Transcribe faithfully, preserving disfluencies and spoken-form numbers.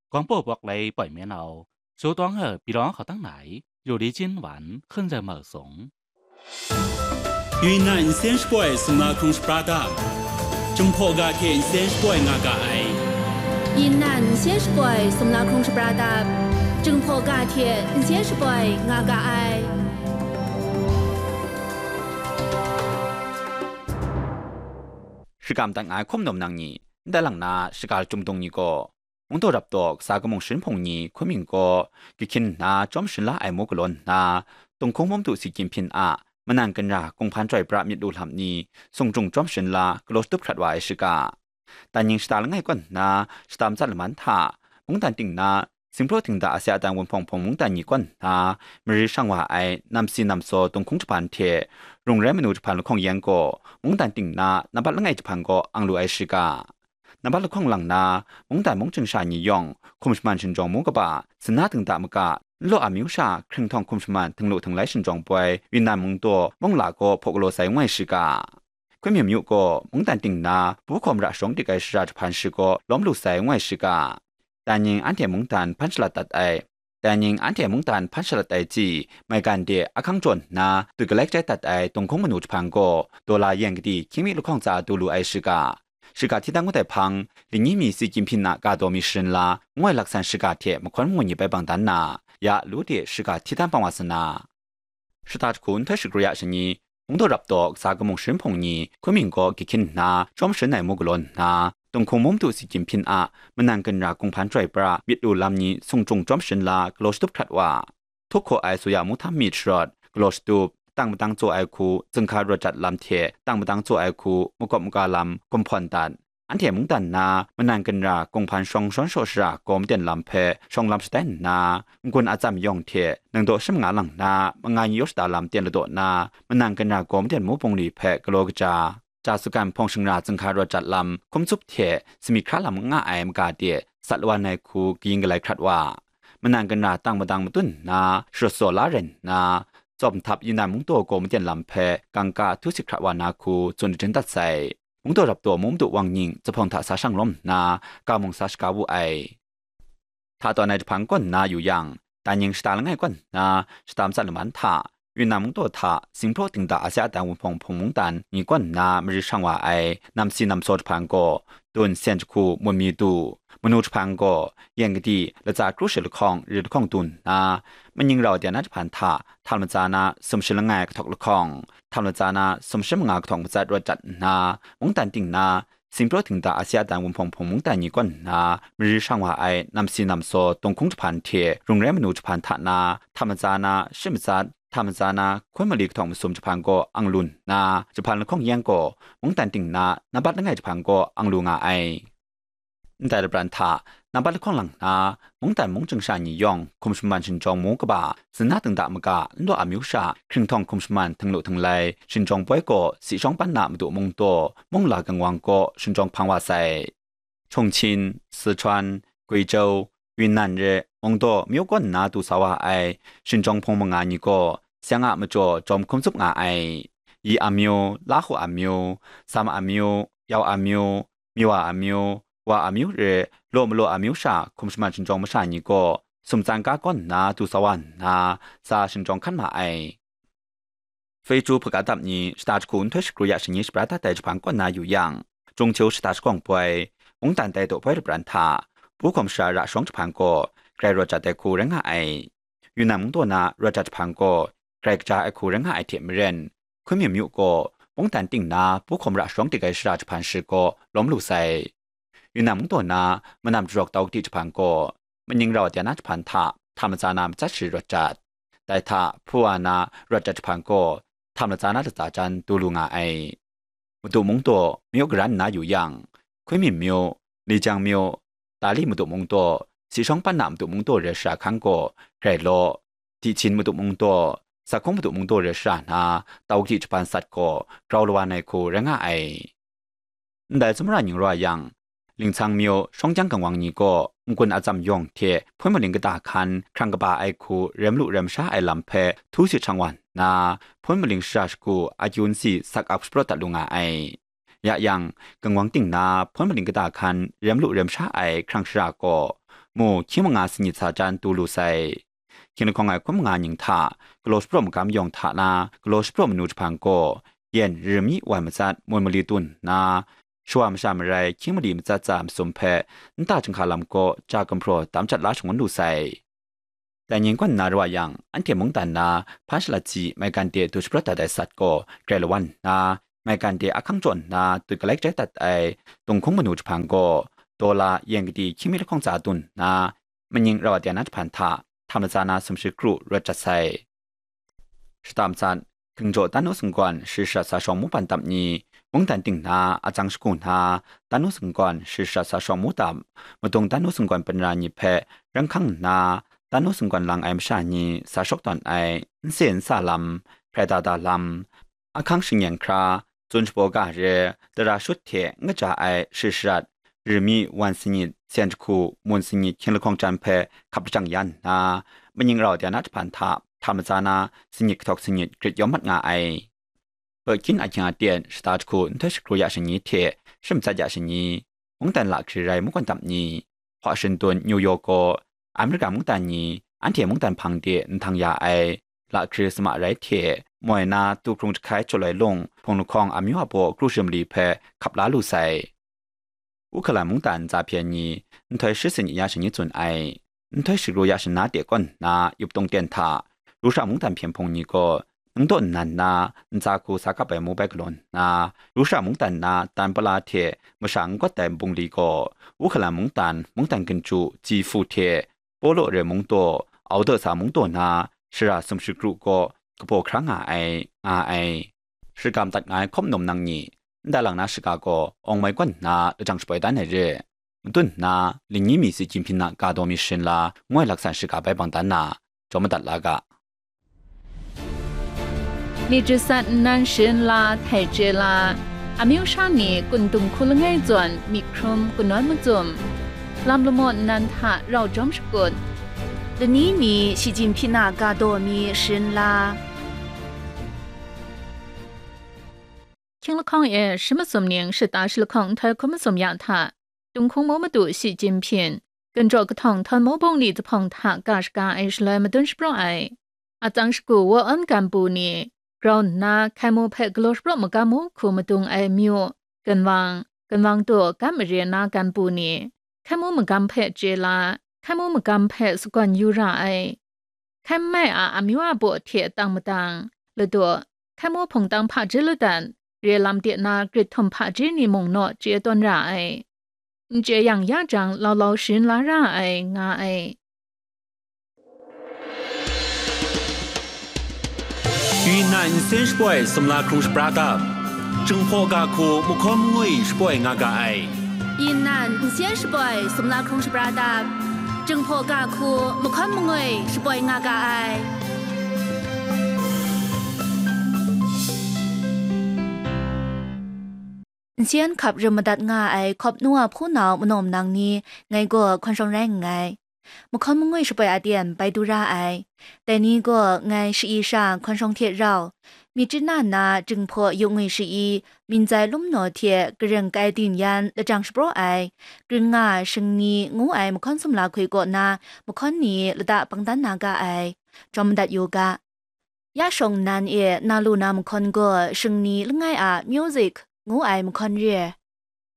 Gawng paw bawk lai poi men au, so tawng e pyi lawng hkau tang na ai, yu li jin wan hkun zai mau sung. 云南 nsen shapoi sumla hkrung shapra dap, Jinghpaw ga hte nsen shapoi nga ga ai. 云南 nsen shapoi sumla hkrung shapra dap, Jinghpaw ga hte nsen shapoi nga ga ai. Shakam dat nga ai hkum nawm nang ni, ndai lang na shaga lachyum dung ni gaw, Mungdaw rap taw kasa kamung sharin hpung ni hkun mying gaw, gahkyin nna chyawm sharin la ai mu galaw nna, Tunghkung Mum Du Si Gyim Hpyin a manan ginra kunghpan chyoi pra myit lu lam ni sung jung chyawm sharin la galaw shatup hkrat wa ai shiga. Danying shata langai kaw nna shata matsat laman hta, mungdan ting na Singpraw Dingda Asia Adan Wunhpawng Hpung mungdan ni kaw nna mari shang wa ai namsi namsaw Tunghkung jahpan hte rung rai manu jahpan lahkawng yan gaw mungdan ting na nambat langai jahpan gaw ang lu ai shiga. Nambat lahkawng lang na, mungdan mung chying sha ni yawng hkum shaman shinjawng mu kaba, sin na dingda maga, nlaw amyu sha hkringhtawng hkum shaman htinglu htinglai shinjawng poi, Yunnan mungdaw mung la gaw hpaw galaw sai ngoi shiga. Hkun Myum Myu gaw mungdan ting na, pu hkawm ra shawng dik ai shara jahpan shi gaw lawm lu sai ngoi shiga. Danying anhte mungdan hpan shalat dat ai, Danying anhte mungdan hpan shalat ai tsi, maigan de ahkang jawn nna, dut galai kachai dat ai Tunghkung manu jahpan gaw, dola yen kadi hkying mi lahkawng tsa du lu ai shiga. Shiga hti dan ngut ai hpang, Lingyi mi Si Gyim Hpyin a ga daw mi sharin la, ngoi laksan shiga hte mahkawn mangun ni bai bang dan na, ya lu de shiga hti dan bang wa sa na. Shata jahku nhtoi shagru ya shani, Mungdaw rap taw kasa kamung sharin hpung ni hkun mying gaw gahkyin nna chyawm sharin ai mu galaw nna, Tunghkung Mum Du Si Gyim Hpyin a manan ginra kunghpan chyoi pra myit lu lam ni sung jung chyawm sharin la galaw shatup hkrat wa. Htuk hkaw ai suya mu htam myit sharawt, galaw shatup, tang madang tsaw ai hku, zunghka rawt jat lam hte tang madang tsaw ai hku, makawp maga lam, gumhpawn dat, anhte mungdan na manan ginra kunghpan shawng shawn shaw shara gaw maden lam hpe shawng lam shatai nna, n-gun atsam yawng hte nang daw sha manga lang na mangan yaw shada lam ten ladaw na, manan ginra gaw maden mu bungli hpe galaw kaja, ja sugan hpawng shingra zunghka rawt jat lam hkum tsup hte sumyit hkra lam n nga ai maga de sat lawan ai hku kayin galai hkrat wa, manan ginra tang madang matun nna sharawt saw la rai nna, tsawp nhtap Yunnan mungdaw gaw maden lam hpe gangka htu sit hkra wa na hku tsun daden dat sai. Mungdaw rap taw mung madu wang nying zuphpawng hta sa shang lawm nna, ga mung sa shaga wu ai. Hta tawn ai jahpan kaw nna yu yang, Danying shata langai kaw nna shata matsat laman hta, Yunnan mungdaw hta Singpraw Dingda Asia Adan Wunhpawng Hpung mungdan ni kaw nna mari shang wa ai namsi namsaw jahpan gaw, dun sen jahku mun mi du, manu jahpan gaw, yen kadi latsa kru shi lahkawng ri lahkawng du nna, maning rau dai na jahpan hta htam latsa na sumshi langai kahtawk lahkawng, htam latsa na sumshi manga kahtawk matsat rawt jat nna, mungdan ting na, Singpraw Dingda Asia Adan Wunhpawng Hpung mungdan ni kaw nna mari shang wa ai namsi namsaw Tunghkung jahpan hte rung rai manu jahpan hta na, htam latsa na shi matsat, htam latsa na hkun mali kahtawk masum jahpan gaw ang lu nna, jahpan lahkawng yan gaw mungdan ting na nambat langai jahpan gaw ang lu nga ai. Ndai lapran hta, nambat lahkawng lang nna, mungdan mung chying sha ni yawng hkum shaman shinjawng mu kaba, sin na dingda maga, nlaw amyu sha, hkringhtawng hkum shaman htinglu htinglai, shinjawng poi gaw, si shawng pan na madu mungdaw, mung la kangwang gaw, shinjawng hpang wa sai. Chongqing, Sichuan, Guizhou, Yunnan re, mungdaw myu kaw nna du sa wa ai, shinjawng hpung manga ni gaw, seng a majaw jawm hkum tsup nga ai. Yi amyu, Lahu amyu, Sam amyu, Yau amyu, Miwa amyu, Wa amyu re, law malaw amyu sha hkum shaman shinjawng masha ni gaw, sumtsan ga kaw nna du sa wa nna, sa shinjawng hkan ma ai. Feichu hpaga dap ni shata jahku nhtoi shakru ya shani shabra dat ai jahpan kaw nna yu yang, Jungcheu shata shagawng poi, mungdan tai daw poi lapran hta, pu hkawm shara ra shawng jahpan gaw, grai rawt jat ai hku rai nga ai. Yunnan mungdaw na rawt jat jahpan gaw, grai kaja ai hku rai nga ai hte maren, Hkun Myum Myu gaw, mungdan ting na pu hkawm ra shawng dik ai shara jahpan shi gaw lawm lu sai. Yunnan mungdaw na manam jarawk tau kadi jahpan gaw, maning rau dai na jahpan hta htam latsa na matsat shi rawt jat. Dai hta hpu wa na rawt jat jahpan gaw, htam latsa na latsa jan du lu nga ai. Madu mungdaw myu garan nna yu yang, Hkun Myum Myu, Lijiang Myu, Dali madu mungdaw, si shawng pan na madu mungdaw re shara hkan gaw, grai law, Dihchin madu mungdaw, Sakhung madu mungdaw re shara na, tau kadi jahpan sat gaw, grau lawan ai hku rai nga ai. Ndai tsawmra ning raw yang, Lingcang Myu, Shawng Kyang Kangwang ni gaw, n-gun atsam yawng hte hpun maling kata hkan hkrang kaba ai hku rem lu rem sha ai lam hpe htu sit shang wa nna, hpun maling shara shagu akyu nsi sak ap shapraw dat lu nga ai. Ya yang, kangwang ting na hpun maling kata hkan rem lu rem sha ai hkrang shara gaw, mu hkying manga sanit sa jan du lu sai. Hkying lahkawng ai hkun manga ning hta galaw shapraw magam yawng hta na galaw shapraw manu jahpan gaw, yen ri mi wan matsat mun mali tun nna, shawa masha marai hkying mali matsat tsa masum hpe nta chyinghka lam gaw ja gumhpraw tam jat la shangun lu sai. Dai ning kaw nna rawt yang, anhte mungdan na hpa shalat si maigan de du shabrat dat ai sat gaw grai lawan nna, maigan de ahkang jaw nna tut galai kajai dat ai dunghkung manu jahpan gaw, dola yen kadi hkying mi lahkawng tsa tun nna, maning rau a de na jahpan hta hta matsa na sumshi kru rawt jat sai. Shata matsat, Hkingjaw Tanu Sunggawn shari sharat sa shawng mu pan tap ni, mungdan ting na atsang shagu na, Tanu Sunggawn shari sharat sa shawng mu tap, madung Tanu Sunggawn panra ni hpe ranghkang nna, Tanu Sunggawn lang ai masha ni sa shawk tawn ai nse nsa lam, hkrai da da lam, ahkang shingyen hkra, tsun shabaw ga re, tara shut hte n kaja ai shari sharat, ri mi wan sanit, sen jahku, mun sanit hkying lahkawng jan hpe hkap lajang ya nna, maning rau de na jahpan hta hta matsa na sanit kahtawk sanit grit yawm mat nga ai. Pawt hkyin ahkying aten shata jahku nhtoi shakru ya shani hte shim tsat ya shani, mungdan lahkri rai makwan dap ni, hpa shindun New York gaw Amerika mungdan ni anhte mungdan hpang de nhtang ya ai lahkri sama rai hte, moi na tu hkrung jahkai jaw loi lung hpung lahkawng amyu a baw kru shim li hpe hkap la lu sai. Uhkalan mungdan ntsa hpyen ni nhtoi shi sanit ya shani tsun ai. Nhtoi shakru ya shana de kawn nna yup tung ten hta, Rusha mungdan hpyen hpung ni gaw nang daw nnan na ntsa hku sa kap ai mu bai galaw nna, Rusha mungdan na tan pala hte masha n gawt ai bungli gaw, Uhkalan mungdan, mungdan ginju, ji hpu hte, Polo re mung taw, Audasa mung taw na shara sumshi kru gaw kabaw hkra nga ai, nga ai. Shakam dat nga ai hkawm nawm nang ni, ndai lang na shaga gaw awng mai gawn nna lajang shaboi dan ai re. Matun nna, lingyi mi si Jinghpin a ga daw mi sharin la, ngoi laksan shaga bai bang dan na, jaw madat la ga. Myit jasat nnan sharin la htai chye la, amyu sha ni kun dung hku langai zawn myit hkrum kanawn macum, lam lamaw nnan hta rau jawm shakut, lani mi shi Jinghpin a ga daw mi sharin la. Hkying lahkawng e shi masum ning shata shi lahkawng nhtoi hkun masum ya hta, Tunghkung mu madu shi Jinghpin, Ganjaw kahtawng htawn mu bungli jahpawng hta ga shaga ai shaloi madun shapraw ai. Atsang shagu wa awn gan bu ni, grau nna hkai mu hpe galaw shapraw magam mu hku madung ai myu, ganwang, ganwang daw gam mare na gan bu ni, hkai mu magam hpe chye la, hkai mu magam hpe sagawn yu ra ai. Hkai mai a amyu a baw hte tang matang, ladaw, hkai mu hpungtang hpaji ladan, re lam de na grit htum hpaji ni mung naw chye tawn ra ai. N chye yang ya jang, lau lau sharin la ra ai, nga ai. Yu nnan nsen shapoi sumla hkrung shapra ga, Jinghpaw ga hku mahkawn mangwi shapoi nga ga ai. Yu nnan nsen shapoi sumla hkrung shapra ga, Jinghpaw ga hku mahkawn mangwi shapoi nga ga ai. Nsen hkap rim madat nga ai hkawp nu a hpunau manaw manang ni ngai gaw hkawn shawng rai nngai. Mahkawn mangwi shapoi aten bai du ra ai. Dai ni gaw ngai sha-i sha hkawn shawng hte rau, myit chyanna na Jinghpaw yu ngwi sha-i, minzai lum naw hte karing kai din yan lajang shapraw ai, Kring nga Shingni ngu ai mahkawn sumla hkoi kaw na mahkawn ni lata bang dan na ga ai. Jawm madat yu ga. Ya shawng nnan e na lu na mahkawn gaw Shingni langai a music ngu ai mahkawn re.